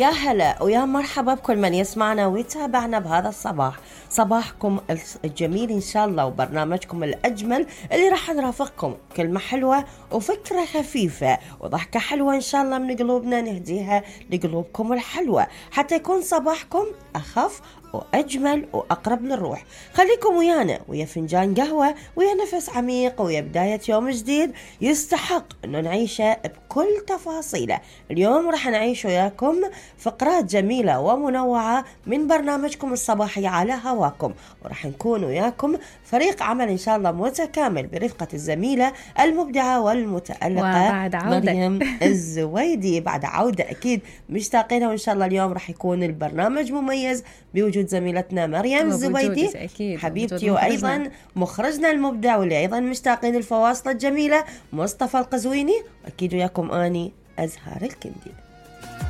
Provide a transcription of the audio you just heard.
يا هلا ويا مرحبا بكل من يسمعنا ويتابعنا بهذا الصباح. صباحكم الجميل إن شاء الله، وبرنامجكم الأجمل اللي راح نرافقكم كلمة حلوة وفكرة خفيفة وضحكة حلوة إن شاء الله من قلوبنا نهديها لقلوبكم الحلوة، حتى يكون صباحكم أخف وأجمل وأقرب للروح. خليكم ويانا ويا فنجان قهوة ويا نفس عميق ويا بداية يوم جديد يستحق أنه نعيشه بكل تفاصيله. اليوم راح نعيش وياكم فقرات جميلة ومنوعة من برنامجكم الصباحي على هواكم، وراح نكون وياكم فريق عمل إن شاء الله متكامل برفقة الزميلة المبدعة والمتألقة مريم الزويدي. بعد عودة أكيد مشتاقينها، وإن شاء الله اليوم راح يكون البرنامج مميز بوجود زميلتنا مريم الزويدي حبيبتي، وأيضا مخرجنا المبدع واللي أيضا مشتاقين الفواصل الجميلة مصطفى القزويني، وأكيد وياكم أني أزهار الكندي.